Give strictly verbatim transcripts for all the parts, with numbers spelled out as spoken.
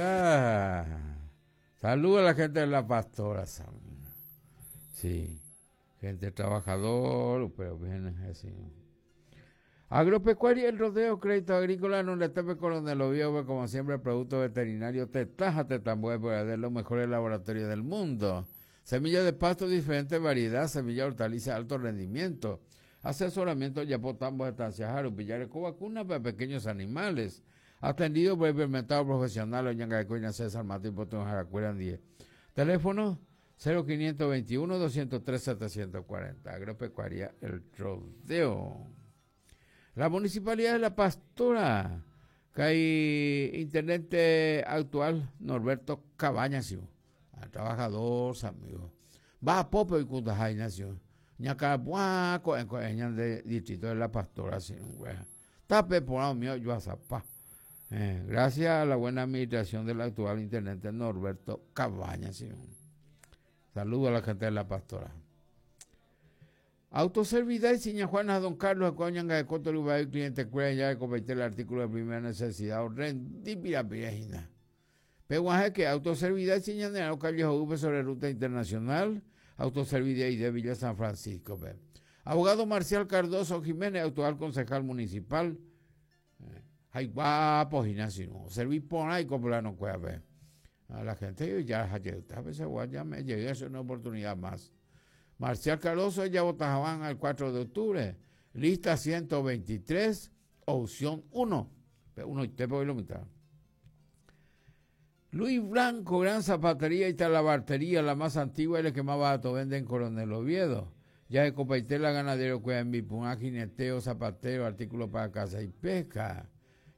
Ah, saludos a la gente de La Pastora. Sí, gente trabajador, pero bien así. Agropecuaria El Rodeo, Crédito Agrícola, no le tepe Coronel Oviedo, como siempre, producto veterinario, tetaja, tetambue, de los mejores laboratorios del mundo. Semilla de pasto, diferente variedad, semilla hortaliza, alto rendimiento. Asesoramiento, Yapotambo, estancia Jaru, Pillareco, vacuna para pequeños animales. Atendido por el experimentado profesional, Oñanga de César Martín Potón, Jaracuera, diez. Teléfono cero quinientos veintiuno doscientos tres setecientos cuarenta. Agropecuaria El Rodeo. La Municipalidad de La Pastora, que hay intendente actual, Norberto Cabañas, trabajador, amigo. Va a Popo y Kundajay nació. Ñacarapuaco, en de distrito de La Pastora, sin Tape por mío, yo a zapá. Eh, gracias a la buena administración del actual intendente Norberto Cabañas. Saludo a la gente de La Pastora. Autoservidad y Siña Juana Don Carlos, Coñanga de Coto, Lugar, cliente cuida ya de competir el artículo de primera necesidad, rendi pirapirejina. Peguaje que Autoservidad y Siña de calle V sobre ruta internacional, Autoservidad y de Villa San Francisco. Pe. Abogado Marcial Cardoso Jiménez, actual concejal municipal. Ay, guapo, no. Serví por ahí como la no cueva. A la gente ya, ya me llegué a una oportunidad más. Marcial Cardoso ya votaban al cuatro de octubre. Lista ciento veintitrés, opción uno. Uno y te puedo mitad. Luis Blanco, gran zapatería y talabartería, la más antigua y la que más barato vende en Coronel Oviedo. Ya de Copaitela, ganadero, cueva en Bipuná, jineteo, zapatero, artículos para caza y pesca.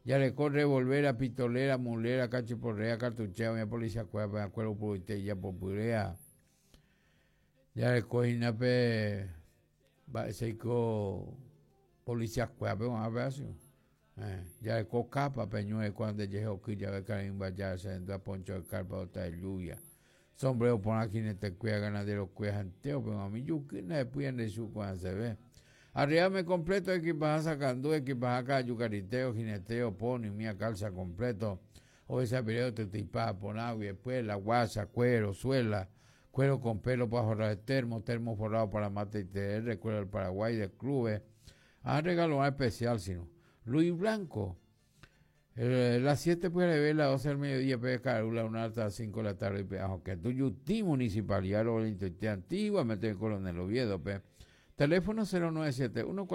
Ya le corre volver a pistolera, mulera, cachiporrea, cartuchea, mi policía, cueva, acuerdo, por ya popurea. Ya le coge pe, va seiko policía cueva, pe, a ver así. Eh, ya le co capa, peñue, cuando llegue ya ve carimba, ya se entra poncho de carpa, otra de lluvia. Sombrero por aquí en este cueva, ganadero cueva, janteo, pero a mí yo que no pueden de su cuando se ve. Arriame completo, equipaje sacando, equipaje acá, yucariteo, jineteo, pony, mía calza completo. O ese video te tipa por agua y después la guasa, cuero, suela, cuero con pelo para forrar el termo, termo forrado para mate y T R, cuero del Paraguay, de clubes. Ah, regalo más especial, sino. Luis Blanco. Eh, las siete puede ver, las doce del mediodía, puede caer la una hasta las cinco de la tarde. Que Tuyutí, Municipalidad, lo antiguamente Coronel Oviedo, pe. Teléfono cero nueve siete uno.